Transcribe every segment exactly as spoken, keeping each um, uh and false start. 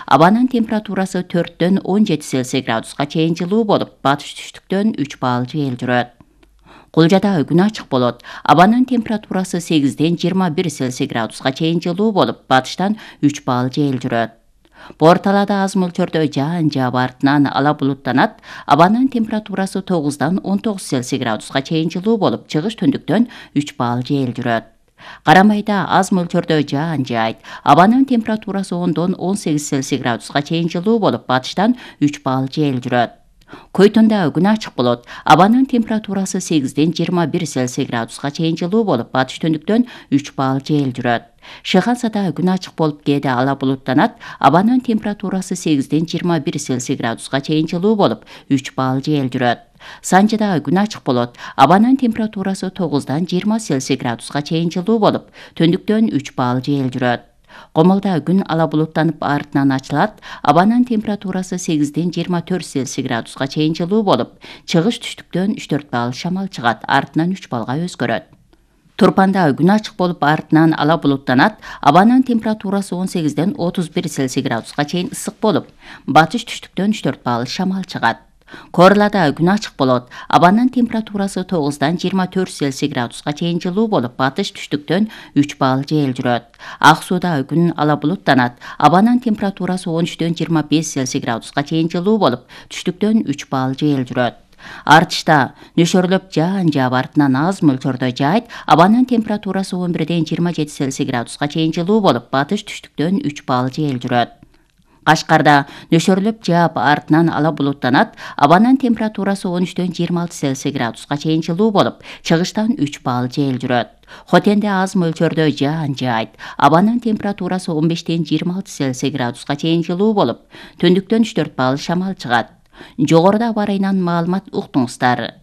Абанын температурасы төрттөн он жети Цельсий градуска чейин жылуу болуп, батыш түштүктөн үч балл жел жүрөт. Кулжада күн ачык болот. Абанын температурасы сегизден жыйырма бир Цельсий градуска чейин жылуу болуп, батыштан үч балл жел жүрөт. Бор талаада аз мөлчөрдө жаан жаап артынан ала булуттанат. Абанын температурасы тогуздан он тогуз Цельсий градуска чейин жылуу болуп, чыгыш түндүктөн үч балл жел жүрөт. Карамайда аз мөлчөрдө жаан жаайт. Абанын температурасы ондон он сегиз Цельсий градуска чейин жылуу болуп, батыштан үч балл жел жүрөт. Койтонда күн ачык болот. Абанын температурасы сегизден жыйырма бир Цельсий градуска чейин жылуу болуп, батыш түндүктөн үч балл жел жүрөт. Шыхансада күн ачык болуп, кээде ала булуттанат. Абанын температурасы сегизден жыйырма бир Цельсий градуска чейин жылуу болуп, үч балл жел жүрөт. Санжыда күн ачык болот. Абанын температурасы тогуздан жыйырма Цельсий градуска чейин жылуу болуп, түндүктөн үч балл жел жүрөт. Комолда күн ала булуттанып артынан ачылат. Абанын температурасы сегизден жыйырма төрт Цельсий градуска чейин жылуу болуп, чыгыш түштүктөн үч төрт балл шамал чыгат, артынан үч баллга өзгөрөт. Турпанда күн ачык болуп, артынан ала булуттанат. Абанын температурасы он сегизден отуз бир Цельсий градуска чейин ысык болуп, батыш түштүктөн үч төрт балл шамал чыгат. Корлада күн ачык болот. Абанын температурасы тогуздан жыйырма төрт Цельсий градуска чейин жылуу болуп, батыш түштүктөн үч балл жел жүрөт. Ак сууда күн ала булуттанат. Абанын температурасы он үчтөн жыйырма беш Цельсий градуска чейин жылуу болуп, түштүктөн үч балл жел жүрөт. Артышта нөшөрлөп жаан жаап артынан аз мөлчөрдө жаайт. Абанын температурасы он бирден жыйырма жети Цельсий градуска чейин жылуу болуп, батыш түштүктөн үч балл жел жүрөт. Кашкарда нөшөрлөп жаап артынан ала булуттанат. Абанын температурасы он үчтөн жыйырма алты Цельсий градуска чейин жылуу болуп, чыгыштан үч балл жел жүрөт. Хотенде аз мөлчөрдө жаан жаайт. Абанын температурасы он бештен жыйырма алты Цельсий градуска чейин жылуу болуп, түндүктөн үч төрт балл шамал чыгат. Жогоруда аба ырайынан маалымат уктуңуздар.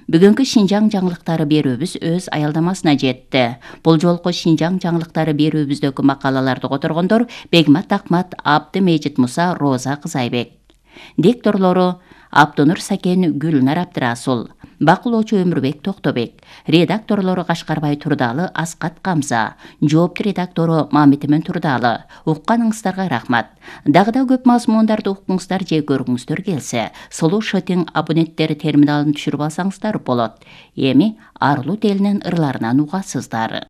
Бүгүнкү Шинжаң жаңылыктары берүүбүз өз аялдамасына жетти. Бул жолку Шинжаң жаңылыктары берүүбүздөгү макалаларды которгондор Бегмат Акмат, Абдымежит Муса, Роза Кызайбек. Дикторлору Абдунур Сакен, Гүлнар Абдырасул, бакылоочу Өмүрбек Токтобек, редакторлору Кашкарбай Турдалы, Аскат Камза, жоопту редактору Мамитимен Турдалы. Укканыңыздарга рахмат. Дагы да көп мазмундарды уккуңуздар же көргүңүздөр келсе, Сулуу Шотинг абоненттери терминалын түшүрүп алсаңыздар болот. Эми Арлуу телинин ырларынан угасыздар.